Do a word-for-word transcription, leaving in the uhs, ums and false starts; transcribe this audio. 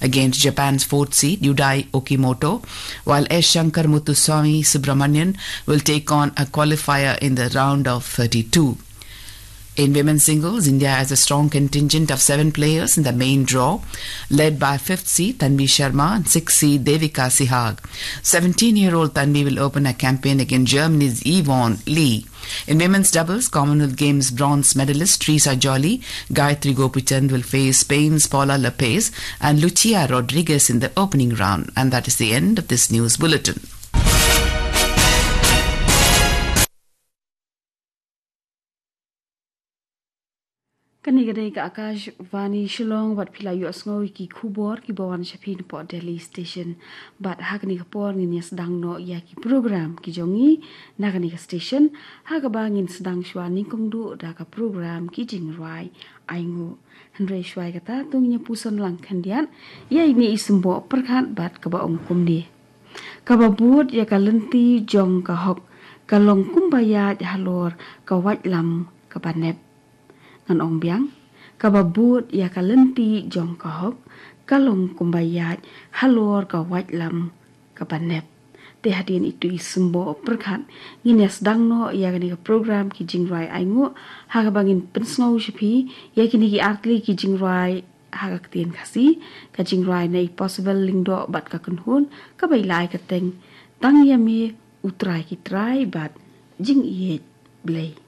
against Japan's fourth seed Yudai Okimoto, while S Shankar Muthuswamy Subramanian will take on a qualifier in the round of thirty-two. In women's singles, India has a strong contingent of seven players in the main draw, led by fifth seed Tanvi Sharma and sixth seed Devika Sihag. Seventeen-year-old Tanvi will open a campaign against Germany's Yvonne Li. In women's doubles, Commonwealth Games bronze medalist Teresa Jolly, Gayatri Gopichand will face Spain's Paula Lopez and Lucia Rodriguez in the opening round. And that is the end of this news bulletin. Kane ka dei ka Akashvani Shillong, bad phi la ïohsngew ïa ki khubor kiba wan sha phi napoh Delhi Station. Bad ha kane ka por ngin ïa sdang noh ïa ki program ki jong ngi na kane ka station, ha kaba ngin sdang shuwa nyngkong duh da ka program Ki Jingrwai Ainguh. Hynrei shuwa ïa kata to ngin ïa puson lang khyndiat ïa ine i symboh pyrkhat bad kaba ong kumne: Kaba bud ïa ka lynti jong ka hok ka long kumba ïaid halor ka waitlam kaba nep. Ngan ong biang: Kaba bud ïa ka lynti jong ka hok ka long kumba ïaid halor ka waitlam kaba nep. Te hadien itu i symboh pyrkhat ngin ïa sdang noh ïa kane ka program Ki Jingrwai Ainguh, ha kaba ngin pynsngew sha phi ïa kine ki artylli ki jingrwai ha ka ktien Khasi. Ka jingrwai na i Possible Lyngdoh bad ka kynhun kaba i la ai ka kyrteng Tang ïa me U Trai ki trai bad Jingïeit Blei.